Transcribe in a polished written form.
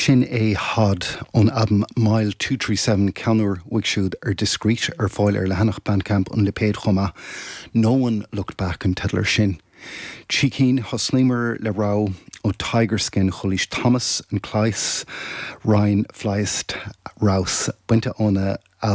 Sin é Hod ón albam Mile 237, ceann úr uaidh siúd ar Discreet, ar fáil ar leathanach Bandcamp an lipéid chomh maith. No One Looked Back an teideal air sin. Trí cinn, thosnaíomar le rogha ó Tiger Skin Chóilís Thomas and Claes, Rein Fließt Raus, bainte óna albam.